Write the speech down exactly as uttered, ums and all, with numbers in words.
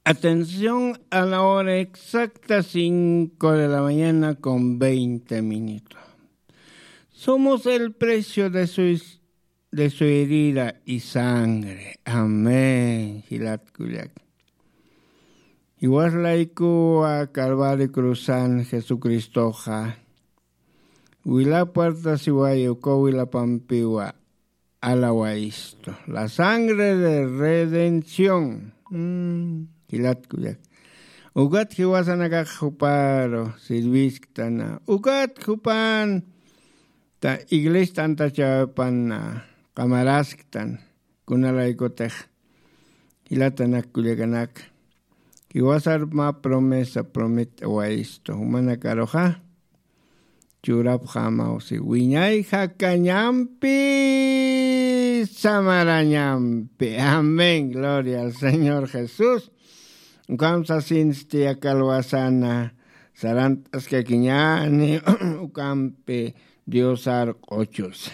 Atención a la hora exacta, cinco de la mañana con veinte minutos. Somos el precio de su, de su herida y sangre. Amén. Jilat kullak. Jiwasalaykuwa Calvario cruzan Jesucristoxa. Wila puerta siwayi uka wilapampiwa alawaysto. La sangre de redención. Mm, jilat kullak. Ukat jiwasanakax juparu sirvisktana. Ukat jupan ta iglesia tantachawpan qamarasktan. Kunalaykutix jilatanak kullakanak. Jiwasar mä promesa promet'awaysto. Jumanakaruxa. Churapxamaw si wiñay jakañampi samarañampi. Amén. Gloria al Señor Jesús. Ukham sasinsti akalwasana sarant'askakiñani ukampi Diosar q'uchusa.